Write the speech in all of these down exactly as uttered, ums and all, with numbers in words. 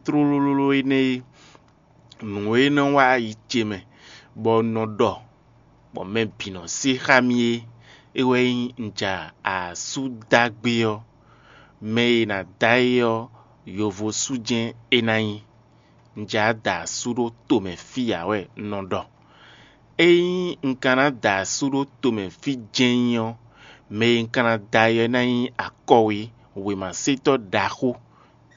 tlólóló énɛ́ é, nǔ e nɔ wá yi ce mɛ, bɔ un nɔ ɖɔ, bɔ mɛ bǐ nɔ se xá mì é, é wɛ nyí un ja asú dó agbe ɔ́. Mɛ e è nǎ da é ɔ́, yovosú jɛ́n é ná nyí. Un ja da asú ɖó tomɛ fí ǎ wɛ un nɔ ɖɔ. Ényí un ka ná da asú ɖó tomɛ fí jɛ́n nyí ɔ́, mɛ e un ka ná da é ɔ́ ná nyí akɔwé, wěmasetɔ́ ɖaxó.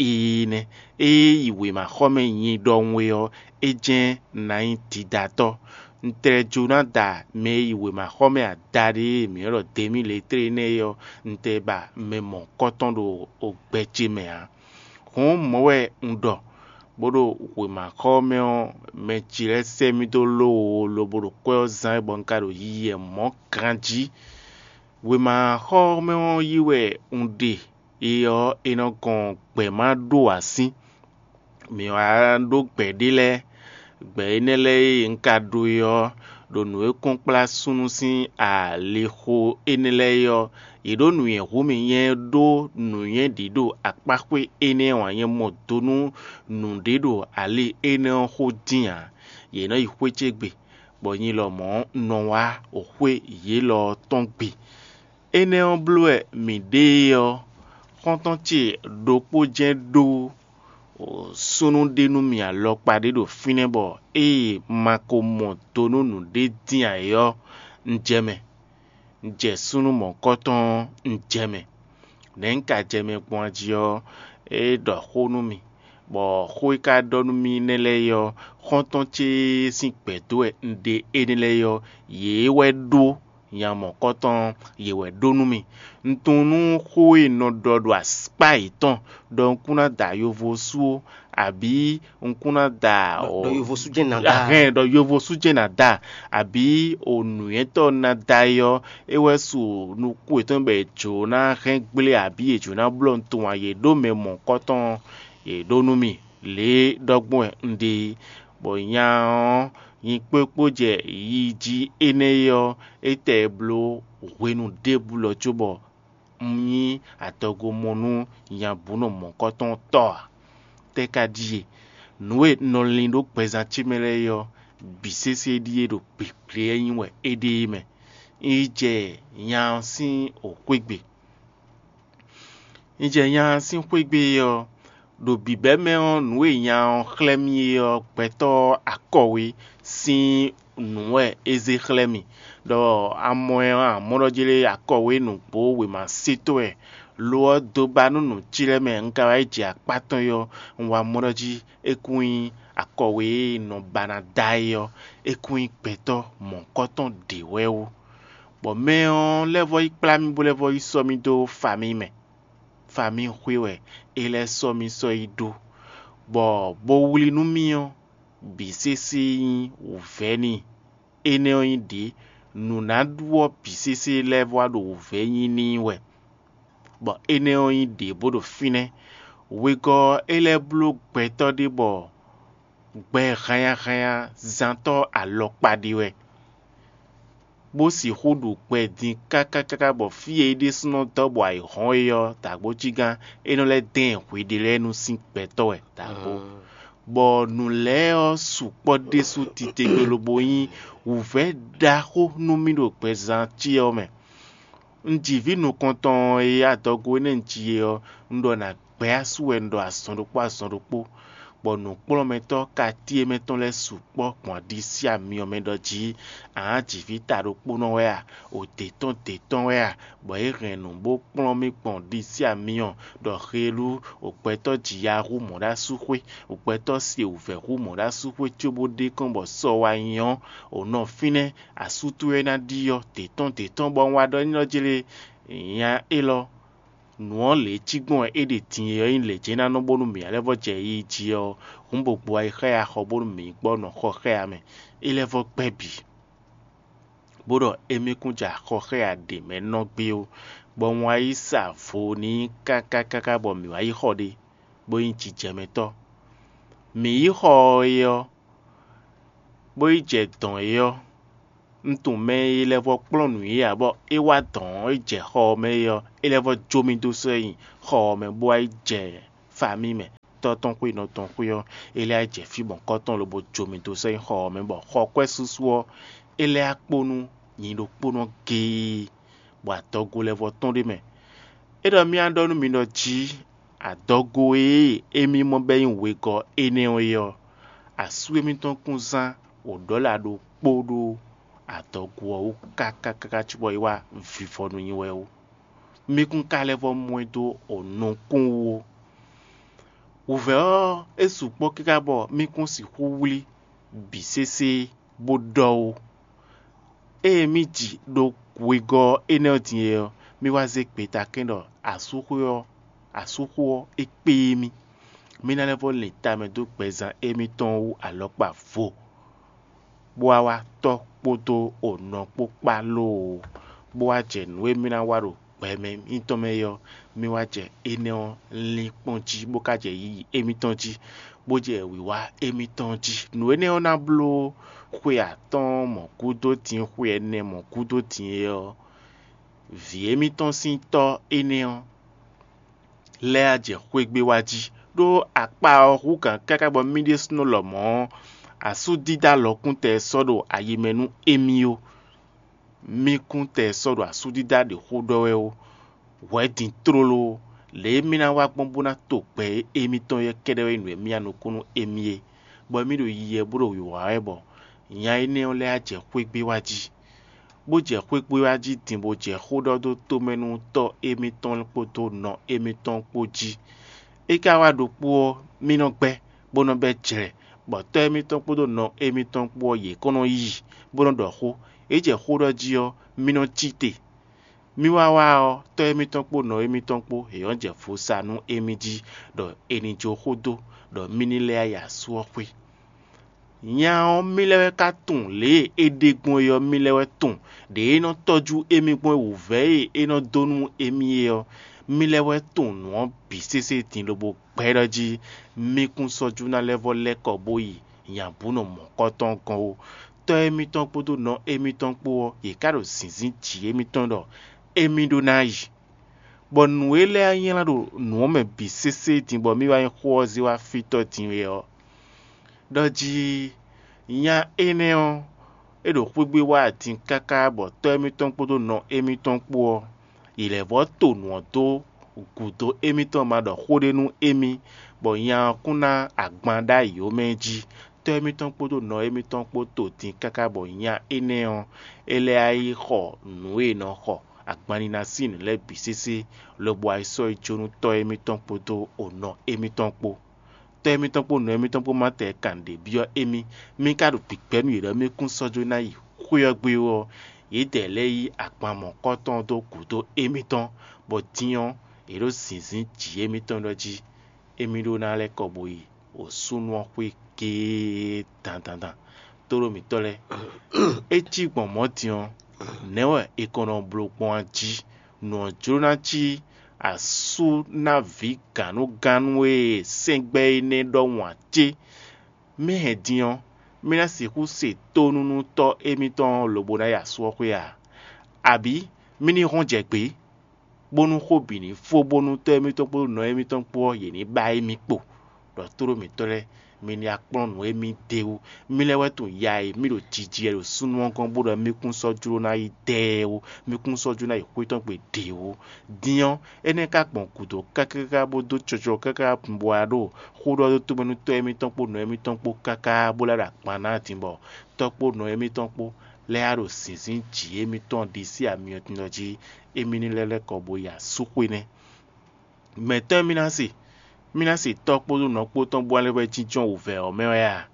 Ii nɛ́, ée yi wěmaxɔmɛ nyi ɖɔhun é ɔ́, é jɛ́n ná nyí didatɔ́. Un tlɛ jó ná da mɛ e yi wěmaxɔmɛ adaɖé e mǐ ylɔ́ ɖɔ demi letré énɛ́ é ɔ́, un tlɛ ba mɛ mɔ̌hunkɔtɔn ɖo gbɛ ce mɛ ǎ. Hǔn mɔ̌ wɛ un ɖɔ, bó ɖo wěmaxɔmɛ ɔ́, mɛ ce lɛ́ɛ sɛ́ mì dó lówo lobo ɖo kwɛ́ ɔ́ zán wɛ bɔ un ka ɖo yiyi wɛ mɔ̌ ganjí. Wěmaxɔmɛ ɔ́ yí wɛ un ɖe, é ɔ́, è nɔ gɔn gbɛ̌ ma ɖó así. Mǐ wá ɖó gbɛ̌ ɖé lɛ́ɛ. Gbɛ̌ énɛ́ lɛ́ɛ e un ka ɖó é ɔ́, ɖo nǔ e kɔn kplá súnnu sín alixo énɛ́ lɛ́ɛ é ɔ́, yě ɖó nǔnywɛ́ hu mì nyɛ ɖó nǔnywɛ́ ɖě ɖo akpáxwé énɛ́ ɔ́ ǎ, nyɛ mɔ do nú nǔɖé ɖo ali énɛ́ ɔ́ xó dín ǎ. Yě nɔ yi xwé ce gbe, bɔ nyi lɔmɔ̌ un nɔ wá xwé yě lɔ ɔ́ tɔn gbe. Énɛ́ ɔ́ bló wɛ mǐ ɖe é ɔ́, xɔ́ntɔn ce ɖokpó jɛ́n ɖó súnnu ɖé nú mì alɔkpa ɖé ɖo fínɛ́, bɔ ée ma ko mɔ do nú nǔɖé dín ǎ é ɔ́, un jɛ mɛ. Un jɛ súnnu mɔ̌hunkɔtɔn ɔ́, un jɛ mɛ. Nɛ̌ un ka jɛ mɛ gbɔn a jí ɔ́, é ɖɔ xó nú mì, bɔ xó e ka ɖɔ nú mì nɛ́ lɛ́ɛ é ɔ́, xɔ́ntɔn ce sín gbɛ̌ dó wɛ un ɖe énɛ́ lɛ́ɛ é ɔ́, yě wɛ ɖó nya mɔ̌kɔtɔn ɔ́, yě wɛ ɖó nú mì. Un tunwun nú xó e un nɔ ɖɔ ɖo akpá yětɔn ɖɔ un kún ná da yovo sú ó, abǐ un kún ná da ɖɔ yovo sú jɛ́n ná da. Ahɛn ɖɔ yovo sú jɛ́n ná da, abǐ o nǔnywɛ́tɔ́ ná da é ɔ́, é wɛ su nukún yětɔn bɔ è jǒ ná hɛn gblé abǐ è jǒ ná blɔ́ nǔ tunwun a yě ɖó mɛ mɔ̌kɔtɔn ɔ́, yě ɖó nú mì lě e ɖɔ gbɔn wɛ un ɖe é. Bɔ nya ɔ́, nyi kpókpó jɛ yi jí énɛ́ é ɔ́, é tɛ bló hwenu ɖěbǔ lɔ cóbɔ un nyí adɔgo mɔ nú nya bǔ nɔ mɔ̌kɔtɔn tɔ́ ǎ. Tɛ́ ka ɖíe? Nǔ e un nɔ lin ɖó gbɛzán ce mɛ lɛ́ɛ é ɔ́, bǐ sésé ɖíe ɖo gbegbléɛ́ nyí wɛ é ɖe é mɛ. Un yi jɛ nya ɔ́ sín xwégbe. Un jɛ nya ɔ́ sín xwégbe ɔ́, ɖo bǐbɛ́ mɛ ɔ́, nǔ e nya ɔ́ xlɛ́ mì é ɔ́, gbɛtɔ́ akɔwé sín nǔ wɛ é zé xlɛ́ mì, ɖɔ a mɔ ɛ ɔ́, a mɔ ɖɔ jlé akɔwé nǔgbó wěma se tɔn wɛ. Lo ɔ́, dó ba nú nǔ ce lɛ́ɛ mɛ un ka wá yi jɛ akpá tɔn é ɔ́, un wá mɔ ɖɔ jí é kún nyí akɔwé e nɔ ba ná da é ɔ́, é kún nyí gbɛtɔ́ mɔ̌hunkɔtɔn ɖě wɛ ó. Bɔ mɛ ɔ́ lɛ́ vɔ́ yi kplá mì bó lɛ́ vɔ́ yi sɔ́ mì dó famí mɛ. Famí xwé wɛ é lɛ́ sɔ́ mì sɔ́ yi ɖó, bɔ bó wlí nú mì ɔ́, bǐ sésé nyí wǔvɛ́ n'i. Énɛ́ ɔ́ nyí ɖě, nǔ ná ɖu ɔ́ bǐ sésé lɛ́ɛ vɔ wá ɖo wǔvɛ́ nyí n'i wɛ, bɔ énɛ́ ɔ́ nyí ɖě bó ɖo fínɛ́. Wegɔ́ ɔ́, é lɛ́ bló gbɛtɔ́ ɖé bɔ gbɛ hannyahannya zantɔ́ alɔkpa ɖé wɛ, bó sixú ɖu gbɛ din káká káká bɔ fí e é ɖésúnɔ dɔ́ bɔ ayǐ hɔ́n é ɔ́, dǎgbójígán é nɔ lɛ́ dɛn hweɖé lɛ́ɛ nu sín gbɛtɔ́ wɛ dǎgbó. Bɔ nǔ lɛ́ɛ ɔ́ sukpɔ́ ɖésú titewungbe lobo nyí wǔvɛ́ ɖaxó nú mì ɖo gbɛzán ce ɔ́ mɛ. Un ji vǐ nukɔntɔn e adɔgo énɛ́ un ji é ɔ́, un ɖɔ nǎ gbɛ́ asú wɛ un ɖɔ azɔn ɖokpó azɔn ɖokpó, bɔ nǔkplɔ́nmɛtɔ́ katíe mɛ tɔn lɛ́ɛ sukpɔ́ gbɔn aɖisí amyɔ mɛ ɖɔ jí: Ǎ, jǐví ta ɖokpónɔ wɛ a? O dě tɔn dě tɔn wɛ a? Bɔ é hɛn nǔ bó kplɔ́n mì gbɔn ɖisí amyɔ, ɖɔ heelú o gbɛtɔ́ ji ya hú mɔ̌ ɖó asú xwé, o gbɛtɔ́ se wǔvɛ́ hú mɔ̌ ɖó asú xwé cóbó ɖe kɔn bɔ sɔ wá nyɔ́. O nɔ fínɛ́, asú towe ná ɖyɔ́ dě tɔn dě tɔn bɔ un wá ɖɔ n'i ɖɔ jlé nya élɔ́. Nǔ ɔ́ lě e cí gbɔn wɛ é ɖe din e ɔ́ nyí lě jɛ́n ná nɔ bónú mǐ lɛ́ vɔ jɛ yiyi jí ɔ́, hǔn bo gbo ayi xá ya xɔ bónú mǐ gbɔ nɔ xɔ xá ya mɛ. É lɛ́ vɔ gbɛ́ bǐ, bó ɖɔ émí kún jɛ axɔ xá ya ɖě mɛ nɔ gbé ó, bɔ un wá yi sa vo n'i káká káká bɔ mǐ wá yi xɔ ɖé, bó nyí jijɛmɛtɔ́. Mǐ yi xɔ ɔ́ é ɔ́, bó yi jɛ dɔ̌n é ɔ́, un tunwun mɛ e lɛ́ vɔ kplɔ́n nǔ é ǎ, bɔ é wá dɔ̌n ɔ́, é jɛ xɔ ɔ́ mɛ é ɔ́, é lɛ́ vɔ jó mì dó sɔ́ nyi xɔ ɔ́ mɛ bó wá yi jɛ famí mɛ. tɔ́ tɔn xwé nɔ tɔn xwé ɔ́, é lɛ́ jɛ fí mɔ̌kɔ́ tɔn lobo jó mì dó sɛ́ nyí xɔ ɔ́ mɛ, bɔ xɔ kwɛ́ súsú ɔ́, é lɛ́ kpo nú nyi ɖokpónɔ géé, bɔ adɔgo lɛ́ vɔ tɔ́n ɖ'é mɛ. É ɖɔ mì wá ɖɔ nú mi ɖɔ jí adɔgo e émí mɔ bɔ é nyí wegɔ́ énɛ́ ɔ́ é ɔ́, asú émítɔn kún zán wǒɖɔ́la ɖokpó ɖó adɔgo ɔ́ wú káká káká cóbɔ é wá vivɔ nú nyi wɛ ó. Mì kún ka lɛ́ vɔ mɔ ɛ dó o nukún wú ó. Wǔvɛ́ ɔ́, é sukpɔ́ káká bɔ mì kún sixú wlí bǐ sésé bó ɖɔ ó. Ée mì ji ɖo wegɔ́ énɛ́ ɔ́ din é ɔ́, mì wá zé gbeta kɛ́n ɖɔ asúxwé ɔ́, asúxó ɔ́, é kpé mì. Mì ná lɛ́ vɔ́ lin tamɛ dó gbɛzán émítɔn wú alɔkpa vo, bó wá wá tɔ́ kpódó onɔ kpó kpá lóo, bó wá jɛ nǔ e mì ná wa ɖo gbɛ mɛ mitɔn mɛ é ɔ́, mì wá jɛ énɛ́ ɔ́ lín kpɔ́n jí, bó ka jɛ yiyi émítɔn jí, bó jɛ wǐwá émítɔn jí. Nǔ énɛ́ ɔ́ ná bló xwe atɔ́ɔ́n mɔ̌ gúdo din xwe ɛnɛ mɔ̌ gúdo din é ɔ́, vǐ émítɔn sín tɔ́ énɛ́ ɔ́ lɛ́ wá jɛ xwé gbé wá jí, ɖó akpa ɔ́ hú gǎn káká bɔ mì ɖésúnɔ lɔmɔ̌ ɔ́, asúdídá lɔkúntɛ sɔ́ ɖo ayi mɛ nú émí ó. Mì kún tɛ sɔ́ ɖo asúdídá ɖě xó ɖɔ wɛ ó. Hwɛ̌ din tlóló, lě e mì ná wá gbɔn bó ná to gbɛ e émítɔn yɛ́ kɛ́ɖɛ́ wɛ nyí nǔ e mì ya nukún nú émí é, bɔ émí ɖo yiyi wɛ bó ɖo wǐwá wɛ bɔ nya énɛ́ ɔ́ lɛ́ wá jɛ xwé gbé wá jí, bó jɛ xwé gbé wá jí din bó jɛ xó ɖɔ dó tomɛ nú tɔ́ émítɔn kpódó nɔ émítɔn kpó jí. É ka wá ɖokpó ɔ́, mì nɔ gbɛ́, bó nɔ bɛ́ jlɛ̌, bɔ tɔ́ émítɔn kpódó nɔ émítɔn kpó ɔ́, yě kɔn nɔ yi, bó nɔ ɖɔ xó. É jɛ xó ɖɔ jí ɔ́, mì nɔ cí te. Mì wá wá ɔ́, tɔ́ émítɔn kpó nɔ émítɔn kpó, yě nɔ jɛ vo sa nú émí jí, ɖɔ è nǐ jó xó dó, ɖɔ mì ní lɛ́ yi asú ɔ́ xwé. Nya ɔ́, mì lɛ́ wɛ ka tunwun lě e é ɖe gbɔn é ɔ́, mì lɛ́ wɛ tunwun ɖě é nɔ tɔ́jú émí gbɔn é wǔvɛ́ e é nɔ dó nú émí é ɔ́. Mì lɛ́ wɛ tunwun nǔ ɔ́ bǐ sésé din lobo gbɛ́ ɖɔ jí mì kún sɔ́ jú ná lɛ́ vɔ́ lɛ́ kɔ bó yi nyabǔnɔ mɔ̌kɔtɔn gɔ́n ó. Tɔ́ émítɔn kpódó nɔ émítɔn kpó ɔ́, yě ká ɖo zǐnzín jǐ émítɔn ɖɔ émí ɖó ná yi. Bɔ nǔ e lɛ́ɛ nylá ɖo nǔ ɔ́ mɛ bǐ sésé din bɔ mì wá nyi xó ɔ́ zé wá fítɔ́ din é ɔ́, ɖɔ jí nya énɛ́ ɔ́, é ɖo xwé gbé wá din káká bɔ tɔ́ émítɔn kpódó nɔ émítɔn kpó ɔ́, yě lɛ́ vɔ́ to nǔ ɔ́ dó gǔdo émítɔn ma ɖɔ xó ɖé nú émí, bɔ nya ɔ́ kún ná agban ɖ'ayǐ ó mɛ jí. Tɔ́ émítɔn kpódó nɔ émítɔn kpó to din káká bɔ nya énɛ́ ɔ́, é lɛ́ wá yi xɔ nǔ e è nɔ xɔ agban nina sín nǔ lɛ́ɛ bǐ sésé, lobo wá yi sɔ́ yi jó nú tɔ́ émítɔn kpódó onɔ émítɔn kpó. Tɔ́ émítɔn kpó nɔ émítɔn kpó ma tɛ kan ɖě byɔ́ émí. Mì ka ɖo gbǐgbɛ́ nú yě ɖɔ mì kún sɔ́ jó ná yi xwé ɔ́ gbé ó ɔ́, yědɛɛ lɛ́ɛ yí agban mɔ̌kɔtɔn dó gǔdo émítɔn, bɔ din ɔ́, yě ɖo zǐnzín jǐ émítɔn ɖɔ jí émí ɖó ná lɛ́ kɔ bo yi wǒsúnú ɔ́ xwé géé dandandan. Tóɖó mǐtɔn lɛ́ɛ, é cí gbɔn mɔ̌ din ɔ́, nɛ̌ wɛ è kɔn nɔ bló gbɔn a jí? Nǔ ɔ́ jló ná cí asú ná vǐ gǎnnugánnu e sɛ́ngbɛ́ énɛ́ ɖɔhun ǎ cé? Mì hɛn din ɔ́, mì ná sixú se tónú nú tɔ́ émítɔn ɔ́ lobo ná yi asú ɔ́ xwé a? Abǐ mì ní hɔn jɛ gbě, bónú xó bǐ ní fó bónú tɔ́ émítɔn kpódó nɔ émítɔn kpó ɔ́, yě ní ba émí kpo, ɖɔ tlóló mǐtɔn lɛ́ɛ, mi ní wá kplɔ́n nǔ e mì ɖe wú. Mì lɛ́ wɛ tunwun ya e mì ɖo jiji wɛ ɖo súnnu ɔ́ gɔ́n bó ɖɔ mì kún sɔ́ jló ná yi dɛɛ ó, mì kún sɔ́ jló ná yi xwé tɔn gbe ɖě ó. Din ɔ́, énɛ́ ka gbɔn gǔdo káká bó dó cɔjɔ káká bó wá ɖo xó ɖɔ dó tomɛ nú tɔ́ émítɔn kpó nɔ émítɔn kpó káká bó lɛ́ ɖo akpan ná din bɔ tɔ́ kpó nɔ émítɔn kpó lɛ́ɛ wá ɖo zǐnzín jǐ émítɔn ɖisí amyɔtɔn jí émí ní lɛ́ lɛ́ kɔ bo yi asúxwé nɛ́. Mɛ̌tɔn e mì ná se? Mì ná se tɔ́ kpódó nɔ kpó tɔn bó wá lɛ́ wɛ jínjɔ́n wǔvɛ́ ɔ́ mɛ wɛ a?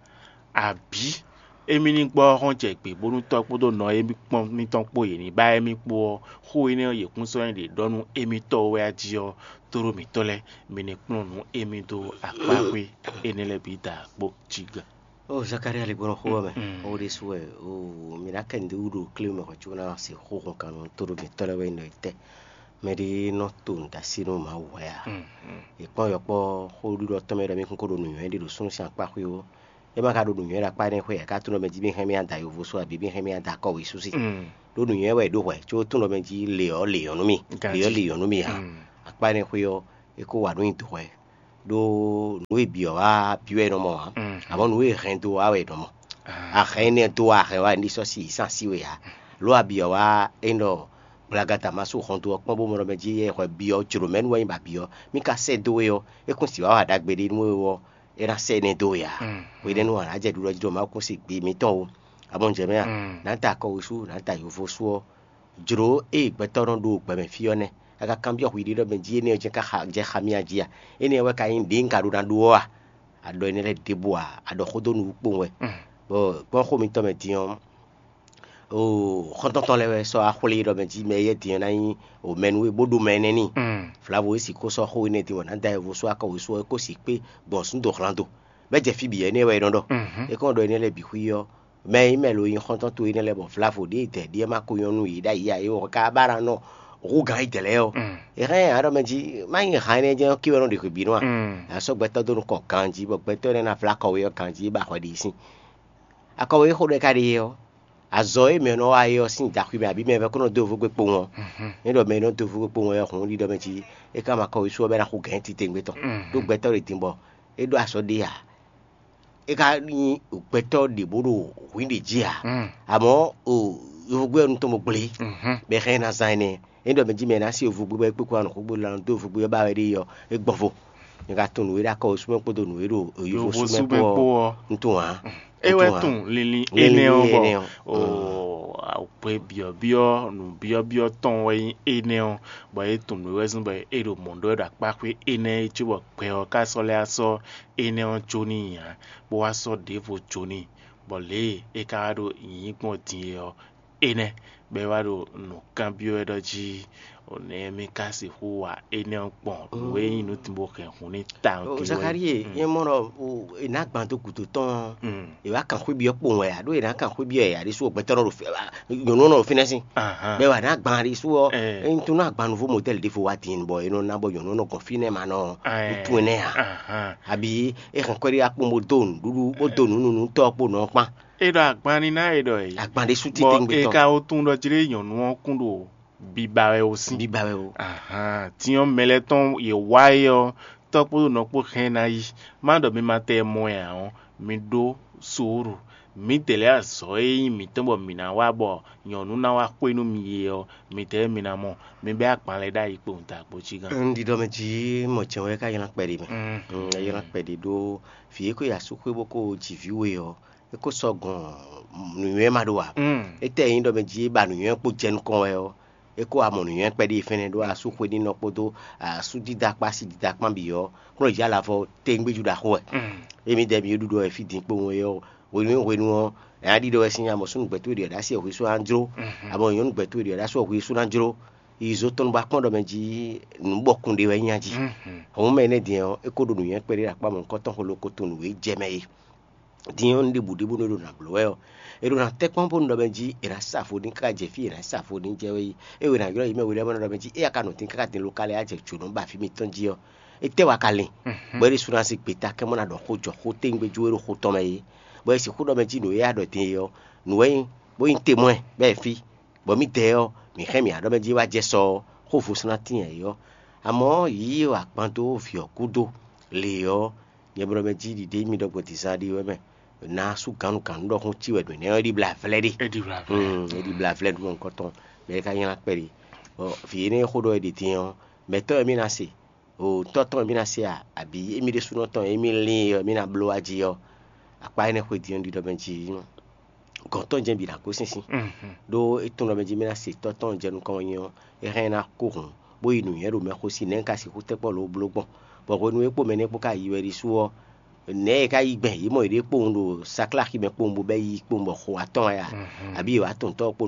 Abǐ émí ní gbɔ ɔ́ hɔn jɛ gbě bónú tɔ́ kpódó nɔ émí kpɔ́n mítɔn kpó yě ní ba émí kpó ɔ́, xó énɛ́ ɔ́ yě kún sɔ́ nyí ɖě ɖɔ nú émítɔ́ wɛ a jí ɔ́, tóɖó mǐtɔn lɛ́ɛ, mi ní kplɔ́n nǔ émí dó akpáxwé énɛ́ lɛ́ɛ bǐ da kpó jí gbe. Ó Zakalía lě gbɔn xó ɔ́ mɛ, ó ɖésú wɛ ó mǐ ná kɛ nǔɖé wú ɖo klé mɛ hwɛ̌ có ná se xó hɔn kan nú tóɖó mǐtɔn lɛ́ɛ wɛ nyí ɖɔ tɛ́. Mɛɖé nɔ to nǔɖasí nú Mawu hwɛ a? È kpɔ́n yɔkpɔ́ xóɖiɖɔ tɔn mɛ ɖɔ mì kún ko ɖo nǔnywɛ́ ɖi ɖo súnnu sín akpá xwé ó. É ma ka ɖo nǔnywɛ́ ɖo akpá énɛ́ xwé ǎ, é ka tunwun ɖɔ mɛ jí mì hɛn mì ada yovo sú abǐ mì hɛn mì ada kɔwǐ sú sí. Ɖó nǔnywɛ́ wɛ è ɖó hwɛ, có tunwun ɖɔ mɛ jí lě ɔ́ lě ɔ́ nú mì, lě ɔ́ lě ɔ́ nú mì ǎ. Akpá énɛ́ xwé ɔ́, é kó wa nǔ nyi dǒ hwɛ. ɖó nǔ e bǐ ɔ́ wá byɔ́ ɛ nɔ mɔ ǎ, amɔ̌ nǔ e hɛn dó wá wɛ è nɔ mɔ. Ahɛn énɛ́ dó wá ahɛn wá, ní sɔ́ sí yǐ sín así we ǎ. Lǒ a byɔ́ wá é nɔ gblagada ma sú hɔn dó ɔ́ kpɔ́n bó mɔ ɖɔ mɛ jí é hwɛ byɔ́ jlǒ mɛ nú wɛ nyí ba byɔ́. Mí ka sɛ́ dó we ɔ́, é kún sì wá wa ɖagbe ɖé nú we ɔ́, é ná sɛ́ énɛ́ dó we ǎ. Hwenɛ́nu ǎ ná jɛ ɖuɖɔ jí ɖɔ Mawu kún sí gbe mǐtɔn o. Amɔ̌ jɛ mɛ a? Nǎ da akɔwesú, nǎ da yovo sú ɔ́, jlǒ e gbɛtɔ́ nɔ ɖo gbɛ mɛ fí ɔ́ nɛ́. A ka kanbyɔ́ hwi ɖé ɖɔ mɛ jí énɛ́ ɔ́ jɛ́n ka xa jɛ xa mì a jí a? Énɛ́ ɔ́ wɛ ka nyí nǔɖé un ka ɖó ná ɖó ɔ́ a? A ɖɔ énɛ́ lɛ́ɛ ɖěbǔ ǎ, a ɖɔ xó dó nǔ kpowun wɛ. Bɔ gbɔn xó mitɔn mɛ din ɔ́, oo, xɔ́ntɔn tɔn lɛ́ɛ wɛ sɔ́ wá xwlé ɖɔ mɛ jí mɛ éyɛ́ din ɔ́ ná nyí o mɛ nú we bó ɖo mɛ énɛ́ n'i. Vlavo e sixú sɔ́ xó énɛ́ din bɔ nǎ da wɛ vo sú akɔwesú ɔ́, é ko sixú kpé gbɔn súndohlán do. Bɔ é jɛ fí bǐ ɔ́, énɛ́ wɛ é nɔ ɖɔ. É kɔn ɖɔ énɛ́ lɛ́ɛ bǐ xwí ɔ́, mɛ e nyí mɛ lo nyí xɔ́ntɔn towe énɛ́ lɛ́ɛ bɔ vlavo ɖěe dɛ ɖíe ma ko nyɔ́ nú yě ɖ'ayǐ ǎ, é wɔ ka ba ná nɔ hú gǎn yi dɛ̌ lɛ́ɛ ɔ́. È hɛn ǎ ɖɔ mɛ jí má nyí han énɛ́ jɛ́n ɔ́ ké wɛ nɔ ɖe hwebǐnu a? A sɔ́ gbɛtɔ́ dó nukɔn ganjí, bɔ gbɛtɔ́ énɛ́ ná vlá akɔwe ɔ́ ganjí, é ba hwɛ ɖi sín. Akɔwe e xó ɖɔ é ka ɖe é ɔ́, azɔ̌ e mɛ nɔ wa é ɔ́ sín daxwi mɛ abǐ mɛ vɛ́ kó nɔ dó vú gbe kpowun ɔ́, é ɖɔ mɛ e nɔ dó vú gbe kpowun ɔ́ hǔn ɖiɖɔ mɛ jí é ka ma kɔ wěsu ɔ́ bɔ é ná xo gɛ̌n titewungbe tɔn. Ɖó gbɛtɔ́ ɖě din bɔ é ɖó azɔ̌ ɖé ǎ. É ka nyí gbɛtɔ́ ɖě bó ɖo hwǐn ɖě jí ǎ. Amɔ̌ o yovógbé ɔ́ nu tɔn bó gblé, bɔ é hɛn ná zán énɛ́. É ɖɔ mɛ jí mɛ ná se yovógbé bɔ é kpé kó wá nɔ xógbó lan dó yovógbé ɔ́ ba wɛ ɖé ɔ́, é gbɔn vo. Nyɛ ka tunwun nǔ e ɖo akɔ wěsu mɛ kpódó nǔ e ɖo yovo sú mɛ kpó ɔ́, un tunwun ǎ. É wɛ tunwun linlin énɛ́ ɔ́ bɔ o akwɛ byɔ̌byɔ́ nǔbyɔ́byɔ́ tɔn wɛ nyí énɛ́ ɔ́, bɔ é tunwun nǔ e wɛ zɔ́n bɔ é ɖo mɔ̌ ɖɔ wɛ ɖo akpáxwé énɛ́ é cóbɔ gbɛ ɔ́ ka sɔ́ lɛ́ wá sɔ́ énɛ́ ɔ́ jó n'i ǎ, bó wá sɔ́ ɖěvo jó n'i, bɔ lě e é ka wá ɖo nyǐnyí gbɔn din é ɔ́, énɛ́ bɔ é wá ɖo nǔ kanbyɔ́ wɛ ɖɔ jí nɛ̌ mì ka sixú wa énɛ́ ɔ́ gbɔn nǔ e nyí nǔ din bó hɛn hun ní tawun din wɛ. Zakalíe, nyɛ mɔ ɖɔ è nǎ gban dó gǔdo tɔn ɔ́, è wá kan xwé byɔ́ kpowun wɛ ǎ, ɖó è nǎ kan xwé byɔ́ yɛ ǎ ɖésú gbɛtɔ́ nɔ ɖo fɛ nyɔ̌nu ɔ́ nɔ ɖo fínɛ́ sín. Bɔ è wá nǎ gban ɖésú ɔ́, ényí tó nɔ agban nǔvó modɛ́li ɖěvo wá din bɔ è nɔ ná bɔ nyɔ̌nu ɔ́ nɔ gɔn fínɛ́ ma nɔ wútu énɛ́ ǎ. Abǐ é hɛn kɔ́ɖiɖa kpowun bó dó nǔɖuɖu bó dó nǔ nú nǔtɔ́ ɔ́ kpó nɔ ɔ́ kpán. É ɖɔ agban ní ná é ɖɔ é. Agban ɖé sú Bɔ titewungbe é tɔn. Ka wo tunwun ɖɔ jlé nyɔ̌nu ɔ́ kún ɖo biba wɛ o sín. Biba wɛ o. Ahan, tinyɔ́ mɛ lɛ́ɛ tɔn yě wá é ɔ́, tɔ́ kpódó nɔ kpó hɛn ná yi. Má ɖɔ mi ma tɛ mɔ ɛ ǎ ɔ́, mi ɖó suúlu. Mǐdɛɛ lɛ́ɛ azɔ̌ e nyí mǐtɔn bɔ mǐ ná wa bɔ nyɔ̌nu ná wá xwé nú mi é ɔ́, mǐdɛɛ mi ná mɔ. Mi bɛ́ agban lɛ́ɛ ɖ'ayǐ kpowun dagbo cí gán. Un ɖiɖɔ mɛ jí mɔ jɛn wɛ ká ylán kpɛɖi mɛ. Mm. Un ylán kpɛɖi ɖó vǐ e ko yi asúxwé bó ko ji vǐ we ɔ́, é ko sɔ́ gɔn nǔnywɛ́ ma ɖó ǎ. Mm. Étɛ́ nyí ɖɔ mɛ jí é ba nǔnywɛ́ kpó jɛ nukɔn wɛ ɔ́, é kó wá mɔ nǔnywɛ́ kpɛɖi fɛ́nɛ ɖó asúxwé nínɔ kpódó asú dídá kpó asi dídá kpán bǐ ɔ́, kplɔ́n yě alavɔ téŋgbéjú ɖaxó wɛ. Mm. Émí dɛ mi ɖuɖɔ wɛ fí din kpowun é ɔ́, hwenu e hwenu ɔ́, ɛ á ɖiɖɔ wɛ sín amɔ súnnu gbɛtɔ́ ɖiɖɔ ɖ'así ɛ hwesú ná jló, mm-hmm, amɔ nyɔ̌nu gbɛtɔ́ ɖiɖɔ ɖ'asú ɛ hwesú ná jló. Yi zotɔn bɔ akpɔ́n ɖɔ mɛ jí nǔ bɔkun ɖé wɛ nyí a jí. Mm-hmm. Hɔn mɛ énɛ́ din ɔ́, é kó ɖo nǔnywɛ́ kpɛɖé ɖo akpá mɔ̌hunkɔtɔn xwe lóko to nǔ e jɛ mɛ é. Din ɔ́, un ɖe bǔɖé bónú é ɖo nǎ bló wɛ ɔ́, è ɖo nǎ tɛ́ kpɔ́n bónú ɖɔ mɛ jí è nǎ sa vo n'i káká jɛ fí è nǎ sa vo n'i jɛ wɛ yi. É wě nǎ ylɔ́ yi mɛ we lɛ́ɛ mɔ ɖɔ mɛ jí éyɛ́ ka nɔ dín káká din lokalɛ á jɛ jǒnɔ ba fí mitɔn jí ɔ́, étɛ́ wɛ a ka lin, bɔ é ɖésú ná zé gbeta kɛ́ mɔ ná ɖɔ xó jɔ xó téŋgbéjú e ɖo xó tɔn mɛ é, bɔ è sixú ɖɔ mɛ jí nǔ e a ɖɔ din é ɔ́, nǔ wɛ nyí, bó nyí temwɛ bɔ è fí, bɔ mǐdɛɛ ɔ́, mǐ hɛn mǐ á ɖɔ mɛ jí wá jɛ sɔ ɔ́, xó vo sɔ́ ná tín ɛ é ɔ́. Amɔ̌ yǐ e wa kpan dó vǐ ɔ́ gúdo lě ɔ́, nyɛ bló mɛ jí ɖiɖe mi ɖɔ gbɔn dǐzá ɖi wɛ mɛ. Ná sú gǎnnugǎnnu ɖɔhun cí wɛ ɖo nɛ́ ɔ́, é ɖi blá vlɛ́ ɖe. É ɖi blá vlɛ́. Mm, é ɖi blá vlɛ́ ɖo nukɔn tɔn. Mɛ é ka nylá kpɛɖi. Bɔ vǐ énɛ́ e xó ɖɔ é ɖi din ɔ́, mɛ̌tɔ́ wɛ mí ná se? O tɔ́ tɔn wɛ mí ná se a? Abǐ émí ɖésúnɔ tɔn e émí lín é ɔ́, mí ná bló wá jí ɔ́? Akpá énɛ́ xwedí ɔ́ ɖiɖɔ mɛ jí gɔ̌n tɔn jɛ́n bǐ ná gosín sín. Ɖó é tunwun ɖɔ mɛ jí mí ná se tɔ́ tɔn jɛ nukɔn wɛ nyí ɔ́, é hɛn ná kó hǔn, bó yi nǔnywɛ́ ɖo mɛ xo sí nɛ̌ un ka sixú tɛ́ kpɔ́ lǒ bló gbɔn. Bɔ hwenu e kpó mɛ nɛ́ kpó ka yi wɛ ɖésú ɔ́, nɛ̌ è ka yí gbɛn yě mɔ yěɖée kpowun ɖo sakláxi mɛ kpowun bó bɛ́ yi kpowun bɔ xo atɔ́ɔ́n wɛ a? Abǐ yě wá tunwun tɔ́ ɔ́ kpó